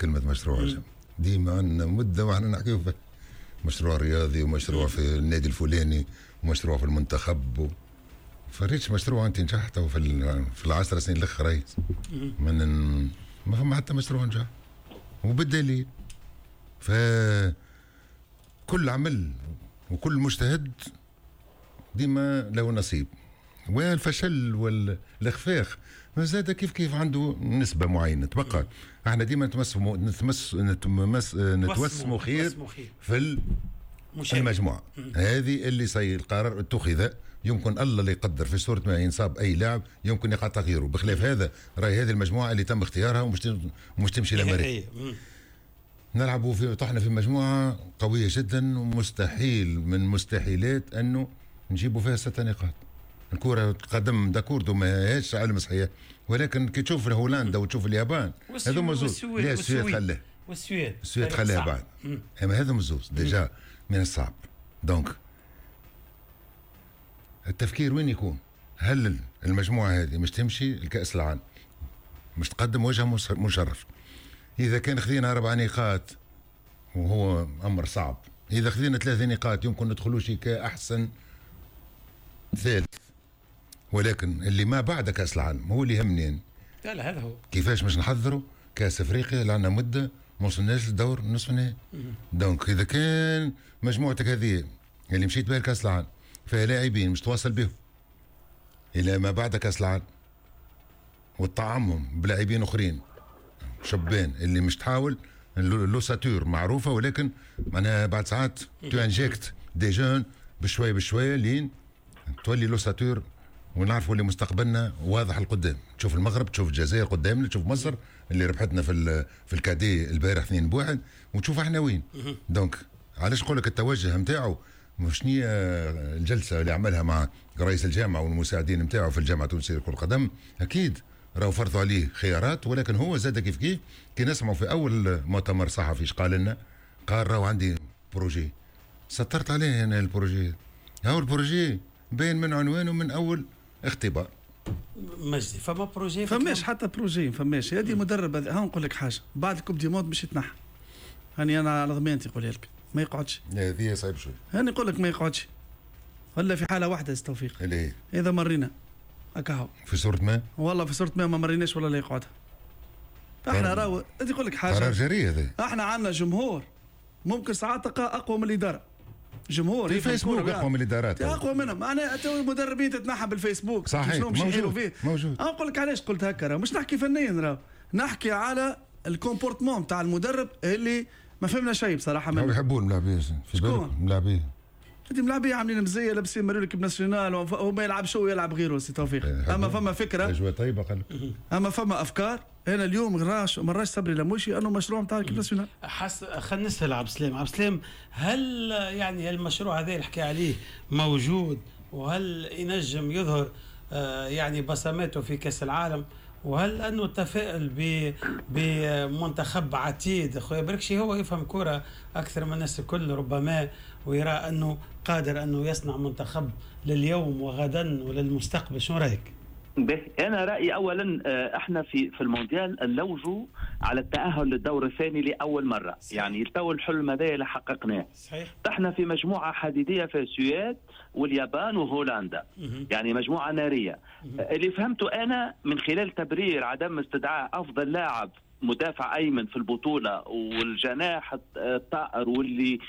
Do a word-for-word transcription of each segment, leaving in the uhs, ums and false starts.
كلمة مشروع ديما عندنا مده واحنا نحكيو في مشروع رياضي ومشروع في النادي الفلاني ومشروع في المنتخب و... فريتش مشروع انت نجحت في في العشر سنين الاخرين من ما فما حتى مشروع نجح، وبالدليل ف كل عمل وكل مجتهد ديما له نصيب، والفشل والاخفاق ما زاد كيف كيف عنده نسبه معينة تبقى. احنا ديما نتمسموا نتمس نتمس نتوسموا خير في المجموعة هذه اللي سي القرار اتخذ. يمكن الله اللي يقدر في صوره ما ينصاب اي لاعب يمكن يقع تغييره، بخلاف هذا راهي هذه المجموعة اللي تم اختيارها ومش مش تمشي لامريكا. نلعبوا في طحنا في مجموعة قوية جدا، ومستحيل من مستحيلات انه نجيبوا فيها ستة نقاط. الكرة قدم d'accord ما هيش علم صحيح، ولكن كي تشوف هولندا وتشوف اليابان هذوما زوز، لا السويد خلاه والسويد السويد خلاها بعد، اما هذوما زوز déjà من الصعب. donc التفكير وين يكون؟ هل المجموعة هذه مش تمشي لكأس العالم، مش تقدم وجه مشرف؟ إذا كان خذينا أربع نقاط وهو أمر صعب، إذا خذينا ثلاثة نقاط يمكن ندخلوا شي كأحسن ثالث، ولكن اللي ما بعد كأس العالم هو اللي يهمني يعني. لا لا هذا هو كيفاش باش نحضروا كأس أفريقيا لعنا مدة ما وصلناش للدور نصف النهائي. donc إذا كان مجموعتك هذه اللي مشيت بها لكأس العالم فيها لاعبين مش تواصل بهم إلى ما بعد كأس العالم وتطعمهم بلاعبين أخرين شبان اللي مش تحاول l'ossature معروفة، ولكن معناها بعد ساعات tu injectes des jeunes بشوية بشوية لين تولي l'ossature، ونعرفوا اللي مستقبلنا واضح القدام. تشوف المغرب، تشوف الجزائر قدامنا، تشوف مصر اللي ربحتنا في في ال cadets البارح اثنين بواحد، وتشوف احنا وين. donc علاش نقول لك التوجه نتاعو مش نية الجلسة اللي عملها مع رئيس الجامعة والمساعدين نتاعو في الجامعة التونسية لكرة القدم، اكيد راهو فرضوا عليه خيارات، ولكن هو زاد كيف كيف كي نسمعوا في اول مؤتمر صحفي ايش قال لنا؟ قال راهو عندي projet، سطرت عليه انا ال projet، هاو ال projet باين من عنوانه من اول اختبار. مجدي فما projet؟ فماش حتى projet، فماش. هذه مدرب ها نقول لك حاجة، بعد ال coupe du monde باش يتنحى، هاني انا على ضمانتي نقولها لك ما يقعدش. هذه صعيب شوي. هاني نقول لك ما يقعدش ولا في حاله واحدة توفيق، اللي هي اذا مرينا هكا في صورة ما، والله في صورة ما ما مريناش ولا لا يقعد. احنا راهو انت نقول لك حاجة، قرار جريء هذا. احنا عندنا جمهور ممكن ساعات تلقاه اقوى من الادارة، جمهور في الفيسبوك اقوى من الادارات، اقوى منهم. معناها تو المدربين تتنحى بالفيسبوك، صحيح موجود فيه. موجود. نقول لك علاش قلت هكا، راه مش نحكي فنيا، راه نحكي على ال comportement تاع المدرب اللي ما فهمنا شيء بصراحة. منه يحبون الملاعبيه في بالك الملاعبيه انت ملاعبيه عاملين مزية لابسين مريول l'équipe nationale وهو ما يلعبش هو يلعب غيره سي توفيق. اما فما فكرة اجواء طيبة قال، اما فما افكار. انا اليوم راش ما راش صبري لموشي انه مشروع نتاع l'équipe nationale. حس خلينا نسال عبد السلام، عبد السلام هل يعني المشروع هذا اللي حكى عليه موجود، وهل ينجم يظهر آه يعني بصماته في كاس العالم، وهل انه تفائل بمنتخب عتيد؟ خويا بركشي هو يفهم كرة اكثر من الناس الكل ربما، ويرى انه قادر انه يصنع منتخب لليوم وغدا وللمستقبل. شو رايك؟ به انا رايي اولا احنا في في المونديال نلوجوا على التاهل للدور الثاني لاول مرة. صحيح. يعني تو الحلم هذا اللي حققناه. صحيح. احنا في مجموعة حديديه في السويد واليابان وهولندا، يعني مجموعة نارية. مه. اللي فهمته انا من خلال تبرير عدم استدعاء افضل لاعب مدافع ايمن في البطولة والجناح الطائر واللي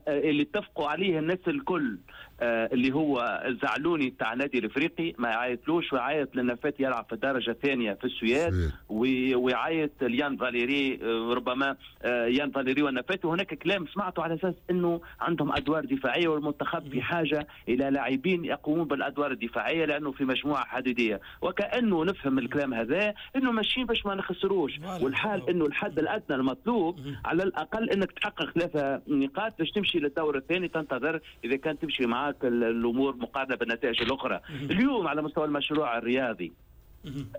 اللي اتفقوا عليه الناس الكل اللي هو الزعلوني تاع النادي الافريقي ما يعيطلوش، ويعيط للنفات يلعب في الدرجة الثانية في السويد، ويعيط ليان فاليري ربما يان فاليري والنفات. وهناك كلام سمعته على اساس انه عندهم ادوار دفاعية والمنتخب في حاجة الى لاعبين يقومون بالادوار الدفاعية لانه في مجموعة حديديه، وكانه نفهم الكلام هذا انه ماشيين باش ما نخسروش، والحال انه الحد الادنى المطلوب على الاقل انك تحقق ثلاثة نقاط باش تمشي للدور الثاني، تنتظر اذا كان تمشي معك الامور مقارنة بالنتائج الاخرى. اليوم على مستوى المشروع الرياضي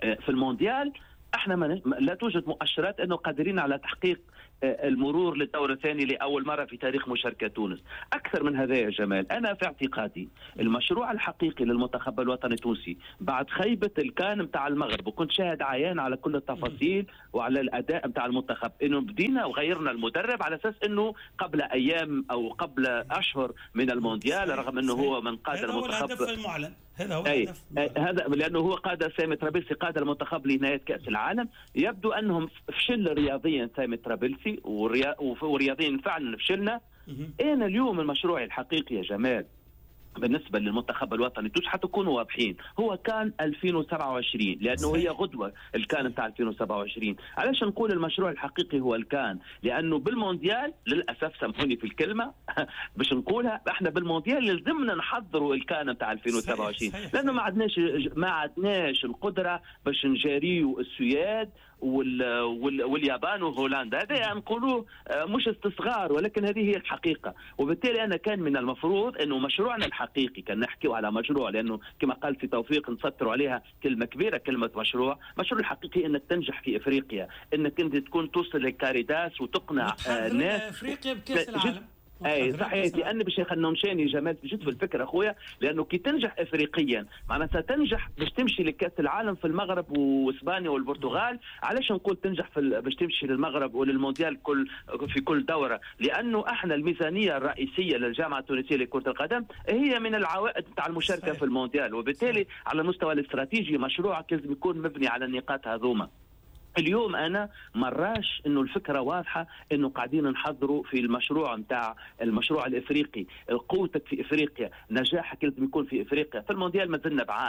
في المونديال احنا ما لا توجد مؤشرات انه قادرين على تحقيق المرور للدور الثاني لاول مرة في تاريخ مشاركة تونس. اكثر من هذا يا جمال، انا في اعتقادي المشروع الحقيقي للمنتخب الوطني التونسي بعد خيبه الكان نتاع المغرب، وكنت شاهد عيان على كل التفاصيل وعلى الاداء نتاع المنتخب، انه بدينا وغيرنا المدرب على اساس انه قبل ايام او قبل اشهر من المونديال، رغم انه هو من قاد المنتخب. هذا هو الهدف المعلن، هذا هو الهدف، هذا لانه هو قاد سامي طرابلسي، قاد المنتخب لنهاية كاس العالم. يبدو انهم فشل رياضيا سامي طرابلسي، ورياضيا فعلا فشلنا. انا اليوم المشروع الحقيقي يا جمال بالنسبة للمنتخب الوطني التونسي، حتى نكونوا واضحين، هو كان ألفين وسبعة وعشرين، لانه هي غدوه الكان نتاع ألفين وسبعة وعشرين. علاش نقول المشروع الحقيقي هو الكان؟ لانه بالمونديال للاسف، سامحوني في الكلمة باش نقولها، احنا بالمونديال لازمنا نحضروا الكان نتاع ألفين وسبعة وعشرين، لانه ما عندناش ما عندناش القدرة باش نجاريو السويد وال وال واليابان وهولندا. هذا نقولوه مش استصغار، ولكن هذه هي الحقيقة. وبالتالي انا كان من المفروض انه مشروعنا الحقيقي، كان نحكيو على مشروع، لانه كما قال في توفيق نسطروا عليها كلمة كبيرة، كلمة مشروع. مشروع الحقيقي انك تنجح في افريقيا، انك انت تكون توصل للكاريداس وتقنع الناس افريقيا بكاس العالم. اي صحيح، لان باش نمشاني جمال جيت في الفكرة اخويا، لانه كي تنجح افريقيا معناتها تنجح باش تمشي لكاس العالم في المغرب واسبانيا والبرتغال. علاش نقول تنجح في باش تمشي للمغرب وللمونديال كل في كل دوره؟ لانه احنا الميزانية الرئيسية للجامعة التونسية لكرة القدم هي من العوائد تاع المشاركة صحيح. في المونديال، وبالتالي على المستوى الاستراتيجي مشروعك لازم يكون مبني على النقاط هذوما. اليوم انا مراش انه الفكرة واضحة، انه قاعدين نحضروا في المشروع نتاع المشروع الافريقي، قوتك في افريقيا، نجاحك لازم يكون في افريقيا. في المونديال ما زلنا بعاد.